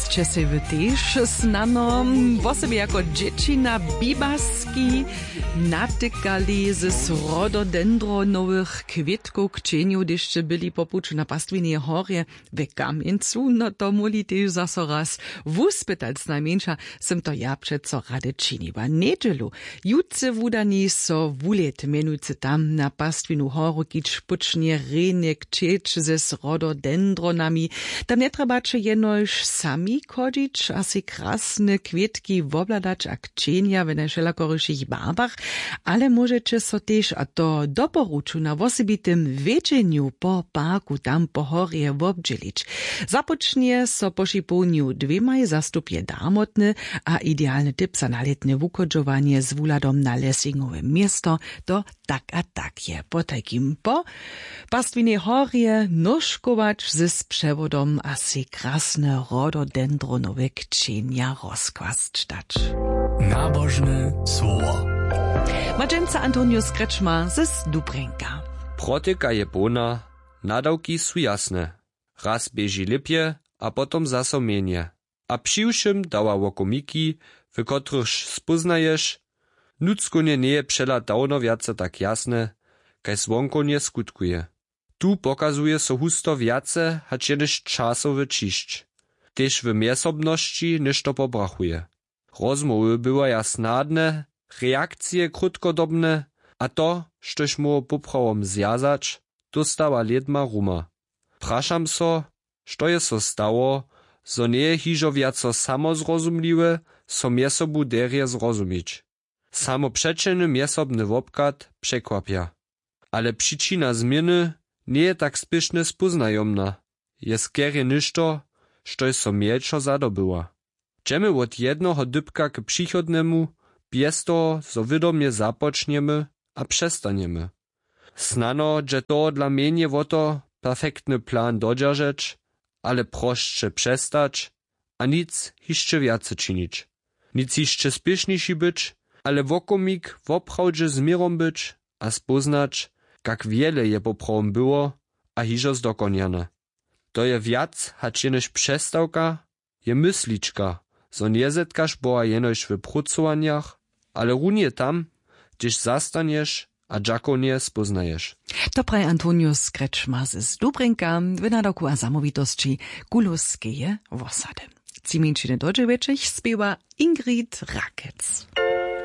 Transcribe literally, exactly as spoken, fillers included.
Sće sej wy tež snano, wosebje jako dźěći na bibaski, natykali z rododendronowych kwětkow kćenjow, hdyž sće byli po puću na Pastwineje horje w Kamjencu? No to móhli tež zaso raz wuspytać. Znajmjeńša sym to ja přeco rady činiła. Njedźelu jutře wudani so wulět mjenujcy tam na Pastwinu horu, kiž pućnje rjenje kćeć z rododendronami. Tam njetrjebaće jenož sami chodźić a sej krasne kwětki wobhladać a kćenja w najwšelakorišich barwach, ale móžeće so tež, a to doporuču, na wosebitym wjedźenju po parku tam po horje wobdźělić. Započnje so po šipołnju dwěmaj, zastup je darmotny, a idealny tip za nalětne wuchodźowanje z wuhladom na lesingowe město to tak a tak je. Potajkim po Pastwinej horje nóžkować z přewodom a sej krasne rododendronowe kćenja rozkłasć dać. Nabožne słowo. Ma dźensa Antonius Kretschmer z Dubrjenka. Protyka je połna, nadawki su jasne. Raz běži lěpje a potom zaso mjenje. A přiwšěm dawa wokomiki, w kotrychž spóznaješ, nutřkownje njeje přehlad dawno wjace tak jasny, kaž zwonkownje skutkuje. Tu pokazuje so husto wjace hač jenož časowy ćišć. Tež w mjezsobnosći něšto pobrachuje. Rozmołwy bywaja snadne, reakcije krótkodobne, a to, štož móhło poprawom zwjazać, dóstawa lědma ruma. Prašam so, što je so stało, zo njeje hižo wjaco samozrozumliwe, so mjez sobu derje zrozumić. Samo přećelny mjezsobny wobchad překwapja. Ale přičina změny njeje tak spěšnje spóznajomna, je skerje něšto, štož so mjelčo zadobyła. Dźemy wot jednoho dypka k přichodnemu, bjez toho zo wědomje započnjemy a přestanjemy. Snano dźe tohodla mjenje wo to, perfektny plan dodźeržeć, ale prosće přestać a nic hišće wjace činić. Nic hišće spěšniši być, ale wokomik woprawdźe z měrom być a spóznać, kak wjele je poprawom było a hižo zdokonjane. To je wjac hač jenož přestawka, je myslička, zo njezetkaš Boha jenož w prócowanjach, ale runje tam, hdźež zastanješ a dźakownje spóznaješ. To praji Antonius Kretschmer z Dubrjenka w nadawku a zamołwitosći Kuluskeje wosady. Tři mjeńšiny do dźewjećich spěwa Ingrid Rakec.